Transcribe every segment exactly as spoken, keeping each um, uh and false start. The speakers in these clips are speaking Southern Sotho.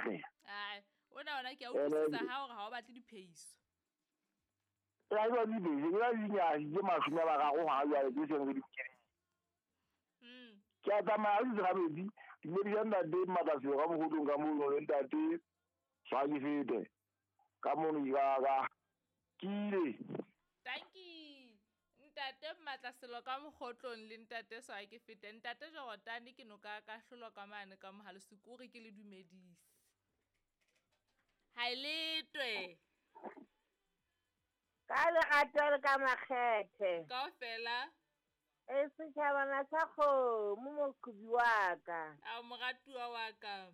batleha. Ai, ona ona ke a utlwisisa ha hore ha o batle diphehiso. Ya ba di bese, ya di nyasi ke mashome a mararo ha jwale ke seng re di kene. Mm. Ke a tsamaya di ga metsi, di ne di ntate Matlaselo ka mogodong ka mono le ntate Swakifete. Ka mono ka ka ke ile. Thank you. Ntate Matlaselo ka mogotlong le ntate Swakifete. Ntate Jordan ke noka ka hlolo ka mane ka mohalo sekuri ke le dumedise. Ha e letwe. Ka lerato le ka makgethe. Kaofela. E setjhabana sa kgomo moqhubi wa ka. A moratuwa wa ka.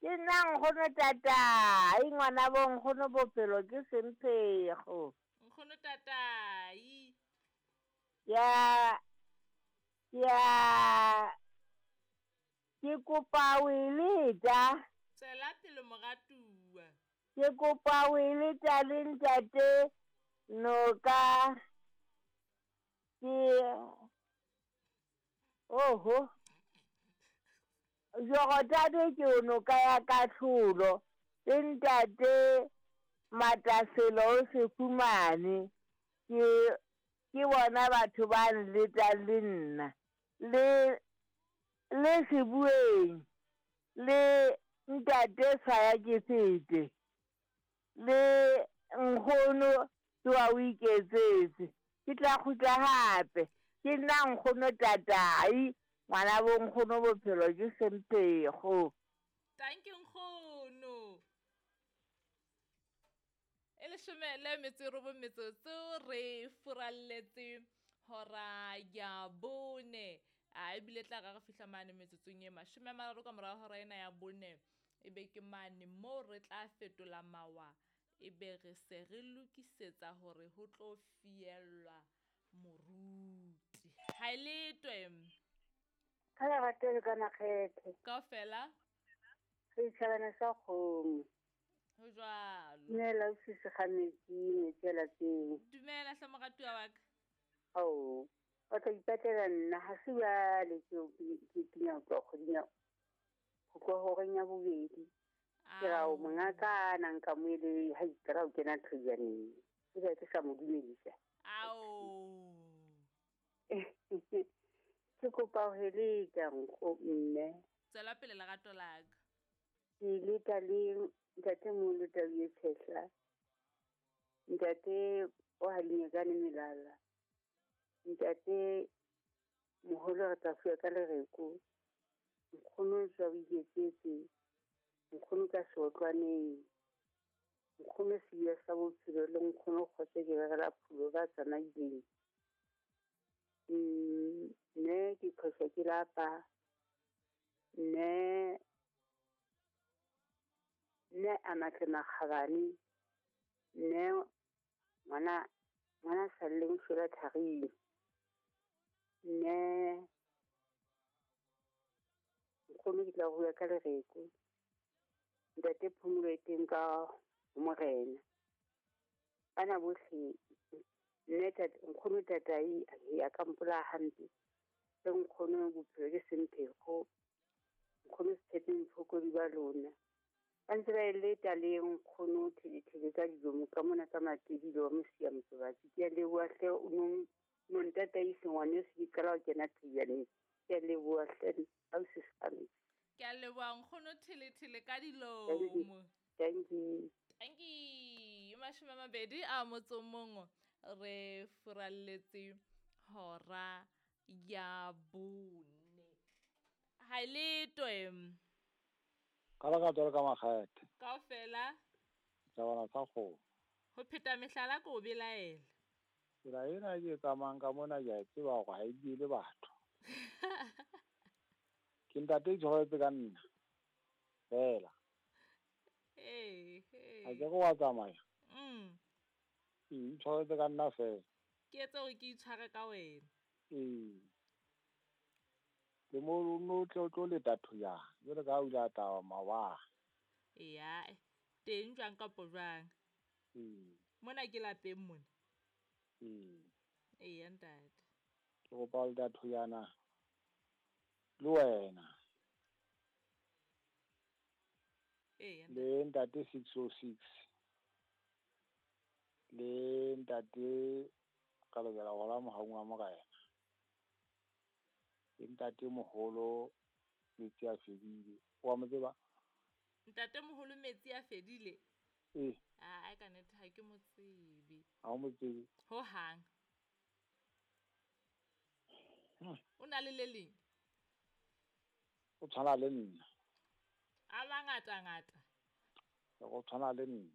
Ke nna nkgono tatai, ngwana bo nkgono bophelo ke semphego. Nkgono tatai. Ya ya ke kopa o e leta. Tswela pele moratuwa. Ke kopa o e leta le ntate Noka ke oho Jordan ke o noka ya katlholo le ntate Mataselo o se fumane ke ke bona batho ba nletang le nna le le Sebueng le ntate Swaya ke fete le nkgono tsoa o iketsetse ke tla kgutla hape ke nna nkgono tatai ngwana bo nkgono bophelo ke semphego. Thank you nkgono. E leshome le metso e robong metsotso re furalletse hora ya bone. A ebile tla ra re fihla mane metsotsong e mashome a mararo ka morao hora ena ya bone. E be ke mane moo re tla fetola mawa e be re se re lokisetsa hore ho tlo fiellwa moruti. Ha e letwe. Ka lerato le ka makgethe. Kaofela. Setjhabana sa kgomo. Ho jwalo. Dumela o sisi ga metsi, metsi a lapeng. Dumela hle moratuwa wa ka. Ao, o tla ipatlela nna ha se jwale ke ke ke ho tloha kgweding ya ho tloha horeng ya bobedi. Ke ra o mongaka na nka mo ele ha ikra o kena thojaneng. Ke be ke sa mo dumedisa. Ao. Ke kopa ho heleta nkgo mme. Tswela pele lerato la ka. Ke leta le ntate Molo Tau e Tshehla. Ntate o Halinyekane Melala. Ntate moholo re tla fuwa ka lereko. Nkgono tswa o iketsetse. Nkgono ka seotlwaneng. Nkgono seya sa bophelo le nkgono kgotso ke berela phulo ba tsamaileng. Mm, ne ke phoso ke lapa. Ne ne a matle makgabane. Ne ngwana ngwana salleng shwela tharing. Ne nkgono ke tla bua ka lereko. Ntate Phumulo e teng ka morena. Bana bohle nne tate nkgono tatai a ka mpola hampe. Le nkgono bophelo ke semphego. Nkgono Setshepeng Mphokodi ba lona. Ba ntse ba e leta le nkgono thelethele ka dilomo ka mona ka matedilo wa mosia motsobatsi. Ke a leboha hle o no no ntataise ngwaneso ke qala ho kena thojaneng. Ke a leboha hle ausi Same. Ke a leboha nkgono thelethele ka dilomo. Thank you. Thank you. Mashome a mabedi a motso mongwe re furalletse hora ya bone. Ha e letwe. Ka lerato le ka makgethe. Kaofela. Setjhabana sa kgomo. Ho pheta mehlala ke o belaela. Tsela ena ke e tsamayang ka mona ke a e tseba hore ha e diele batho. Ke ntate itshwaretse ka nna. Fela. Ee, ee. Ha ke re wa tsamaya. Mm. Ee, itshwaretse ka nna fela. Ke etse hore ke itshware ka wena. Ee. Le mo no tlo tlo leta thoyana. Jwale ka ha o ile a tla maobane. Eya, teng jwang kapo jwang. Ee. Mona ke lapeng mona. Ee. Eya ntate. Ke kopa ho leta thoyana le wena. Ee, Le ntate six oh six. Le ntate ka lokela hola mohaung wa morena. Le ntate moholo metsi a fedile. Wa mo tseba? Ntate moholo metsi a fedile? Ee. Ah, ka nnete ha ke mo tsebe. Ha o mo tsebe? Ho hang. Hmm. O na le le leng? O tshwana le nna. A mangata ngata. O tshwana le nna.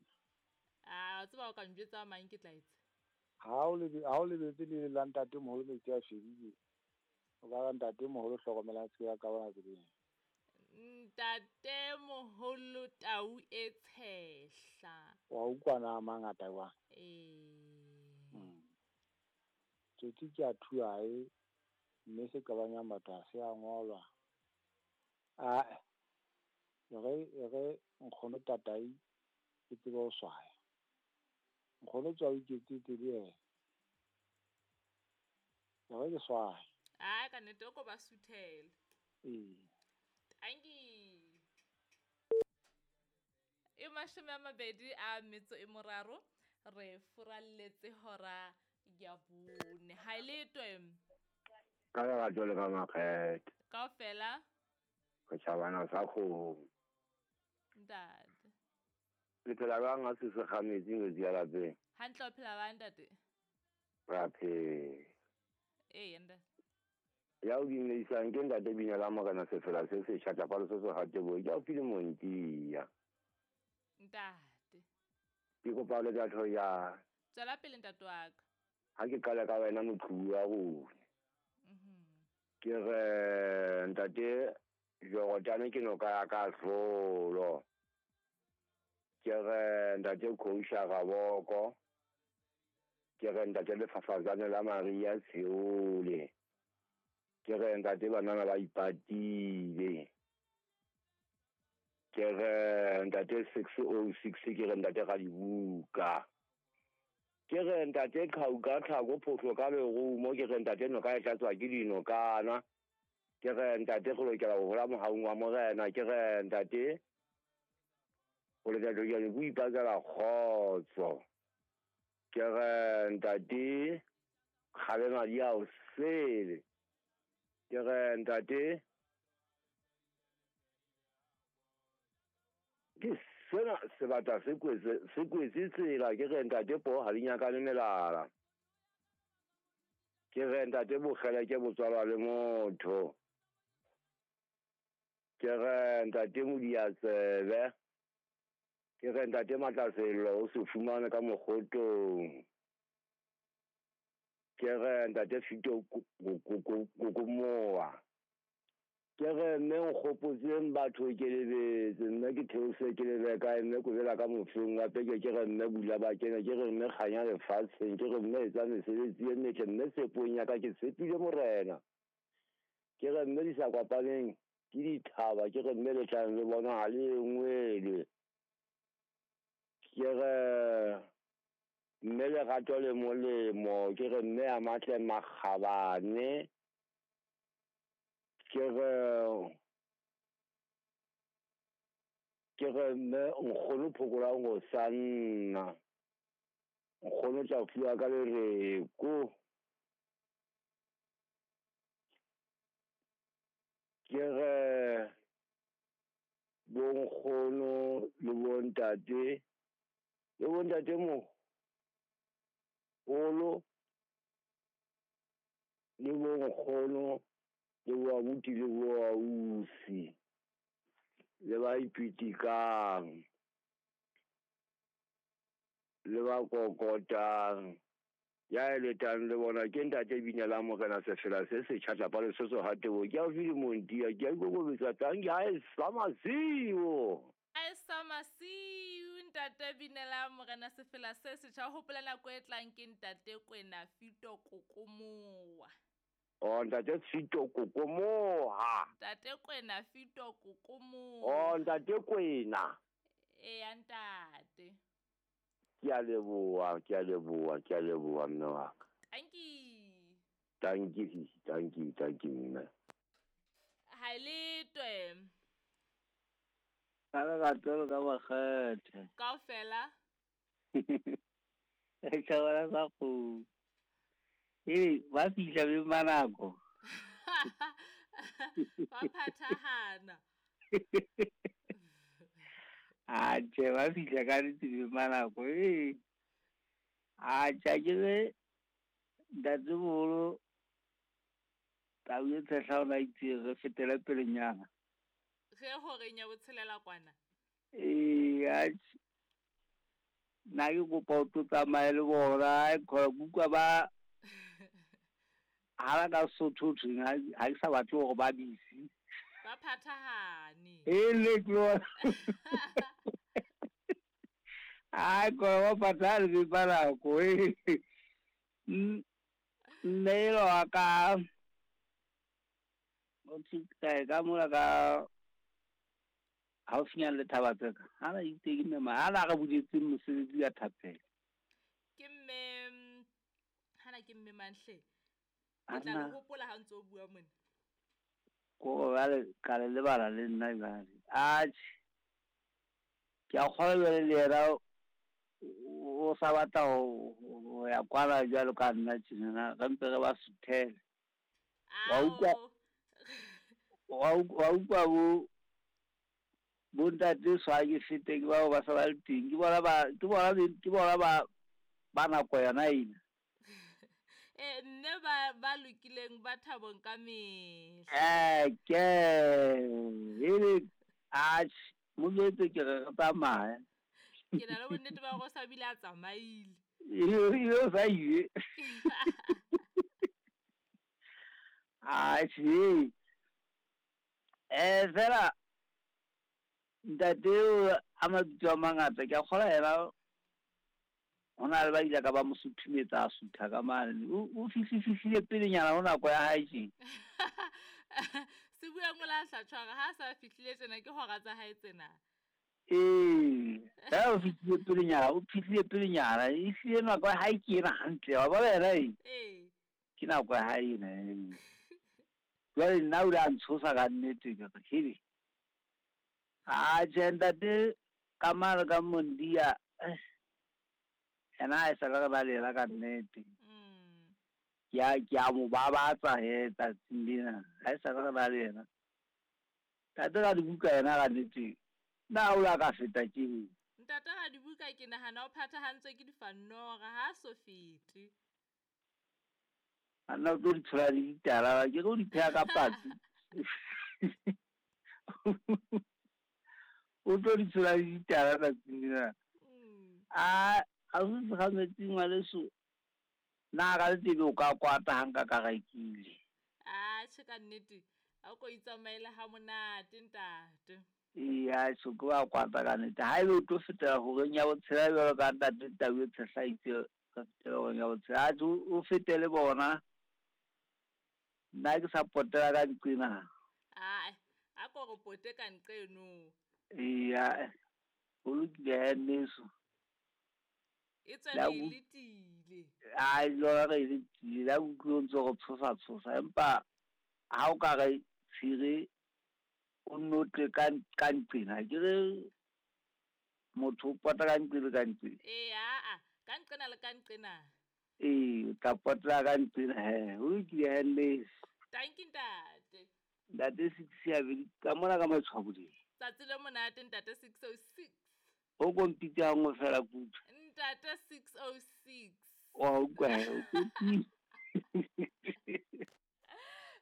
Ah, o tseba o ka njwetsa mang ke tla etsa? Ha o lebe, ha o lebetse le la ntate moholo metsi a fedile. O ka ra ntate moholo hlokomelang se ya ka bona tseleng. Ntate moholo tau e tshehla. Wa utlwa na mangata wa? Ee. Mm. Tsotsi ke a thuae mme se qabanyang batho ha se a ngolwa. Ah, re re nkgono tatai ke tsebe ho swaya. Nkgono tswa o iketsetse le yena. Re ke swaya. Ah, ka nnete o ko ba suthele. Ee. Tanki. E mashome a mabedi a metso e moraro re furalletse hora ya bone. Ha e letwe. Ka lerato le ka makgethe. Kaofela. Re tjhabana sa kgomo. Ntate. Le phela jwang ha se se kgametse ngwetsi ya lapeng? Hantle o phela bang ntate? Re a phela. Ee, ntate. Ya o dumedisang ke ntate Binela Morena Sefela se setjha tlapalo se se hatebo ke o file Montia. Ntate. Ke kopa le ka thoya. Tswela pele ntate wa ka. Ha ke qala ka wena moqhubu wa rona. Mhm. Ke re ntate Jorotane ke noka ya ka hlolo. Ke re ntate Khousha Raboko. Ke re ntate Lefafazane la Maria Tsheole. Ke re ntate banana ba ipatile. Ke re ntate six oh six ke re ntate Radibuka. Ke re ntate Qhauka Tlhako Phofo ka lerumo ke re ntate noka e tlatswa ke dinokana. Ke re ntate re lokela ho hola mohaung wa morena. Ke re ntate o lokela ho ipakela kgotso. Ke re ntate kgabe madi a o sele. Ke re ntate ke sena sebata se kwetse se kwetse tsela. Ke re ntate po ha di nyakane melala. Ke re ntate bokgele ke botswalwa le motho. Ke re ntate Modiatsebe. Ke re ntate Matlasello o se fumane ka mokgotong. Ke re ntate Fito Kokomoa. Ke re mme nkgopotseng batho ke lebetse mme ke theose ke lebe kae mme kobela ka mofeng wa peke. Ke re mme bula ba kene. Ke re mme kganya lefatsheng. Ke re mme etsa mesebetsi e metle mme tshepong ya ka ke tshepile morena. Ke re mme di sa kopaneng ke dithaba. Ke re mme le tlang le bona ha le engwele. Ke re mme lerato le molemo. Ke re mme a matle makgabane. Ke re ke re mme nkgono phokolang ho sa nna. Nkgono tla fuwa ka lereko. Ke re bonkgono le bontate le bontate moholo le bonkgono le boabuti le boausi le ba ipitikang le ba kokotang. Ya eletang le bona ke ntate Binela Morena Sefela se setjha tlapalo se se hatebo ke a file Montia. Ke a ikokobetsa tang ke ha e sa masiu. Ha e sa masiu ntate Binela Morena Sefela se setjha. Hopola nako e tlang ke ntate Kwena Fito Kokomoa. Oh ntate Fito Kokomoa. Ntate Kwena Fito Kokomoa. Oh ntate Kwena. E ya ntate. Ke a leboha, ke a leboha, ke a leboha mme wa ka. Tanki. Tanki, tanki, tanki mme. Ha e letwe. Ka lerato le ka makgethe. Kaofela. Tjhabana sa kgomo. Ee, ba fihla beng ba nako. Ba phathahana. Atjhe, ba fihla ka nnete beng ba nako. Ee. Atjhe, akere ntatemoholo tau e tshehla o na itse re fetele pelenyana. Ge horeng ya botshelela kwana. Ee, atjhe. Nna ke kopa o tlo tsamaye le bona, ke utlwa ba hala ka Sesotho ho thweng ha ke sa batle hore ba busy. Ba phathahane. Ele ke lona. Ai, ko ba phathahane beng ba nako. Mme elwa wa ka o thwe kae ka mola ka haufinyana le thaba tseka. Ha na itse ke mme ha na re buletseng mosebetsi ya thapelo. Ke mme hana ke mme Manhle. Ke tla le hopola ha ntse o bua mona. Ko jwale ka le lebala le nna jwale. Atjhe. Ke a kgolwa jwale le yena o sa batla ho ya kwana jwalo ka nna tjena re mpe re ba suthele. Wa utlwa wa utlwa bo bo ntate swa ke fete ke bao ba sa ba le teng ke bona ba ke bona ke bona ba ba nako yona ena. Eh nne ba ba lokileng ba thabong ka mehla. Eh ke ele atjhe mo jwetse ke re re tsamaya. Ke na le bonnete ba hore o sa bile a tsamaile. Ebile o sa ile. Atjhe. Eh fela ntate eo a mabitso a mangata ke a kgolwa yena ho na le ba ile ka ba mo suthumetsa a sutha ka mane. O fihlile pelenyana ho nako ya hae tje. Se buang o la hlatshwara ha sa fihlile tjena ke hora tsa hae tsena. Ee, ha o fihlile pelenyana, o fihlile pelenyana, e hlile nako ya hae ke ena hantle, wa bona yena e. Ee. Ke nako ya hae ena. Jwale nna o ile a ntshosa ka nnete ke re hele. Atjhe ntate ka mane ka Mondia yena ha e sale re ba le yena ka nnete. Ke a ke a mo babatsa he tsatsing lena, ha e sale re ba le yena. Ntate Radibuka yena ka nnete na o la ka feta ke. Ntate Radibuka ke nahana o phathahantswe ke difanora ha so fete. Anna o tlo di tshola le ditala ke re o di pheha ka patsi. O tlo di tshola le ditala tsatsing lena. A a se ga metsi ngwaneso na ka letebe o ka kwata ha nka ka rekile. Atjhe ka nnete a ko itsamaele ha monate ntate. Ee, atjhe ke wa kwata ka nnete. Ha ebe o tlo fetela horeng ya botshela jwalo ka ntate Tau e tshehla itse ka fetela horeng ya botshela. Atjhe o fetele bona. Nna ke sa potela ka nqena. Ai, a ko re pote ka nqeno. Ee, ho lokile he nneso. E tswe re letile. Ai, lona re letile. La utlwe o ntso re tshosa tshosa empa ha o ka re tshire o nno tle ka ka nqena ke re motho o pota ka nqena ka nqena. Ee, aa ka nqena le ka nqena. Ee, o tla potela ka nqena he. Ho lokile he nneso. Thank you ntate. Ntate six ya bedi ka mona ka Matshwaboding. Tsatsi le monate ntate six oh six. O kompitse ha nngwe fela kudu. Ntate six oh six. Wa utlwa he, o kopile.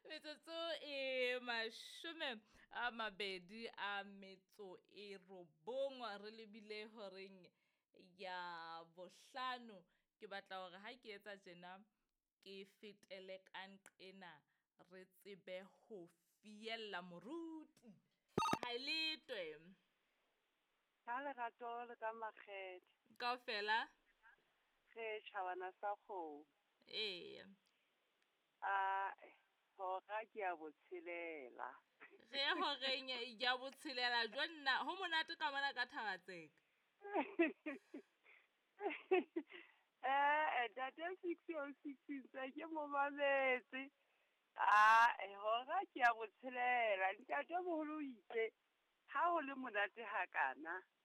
Metsotso e mashome a mabedi a metso e robong re lebile horeng ya bohlano. Ke batla hore ha ke etsa tjena ke fetele ka nqena re tsebe ho fiella moruti. Ha letwe. Ka lerato le ka makgethe. Kaofela. Re tjhabana sa kgomo. Ee. A hora ke ya botshelela. Re horeng ya botshelela jo nna ho monate ka mona ka Thabatseka. Eh, ntate six oh six ntse ke mo mametse. Ah, hora ke ya botshelela. Ntate moholo o itse Ha ho le monate hakana.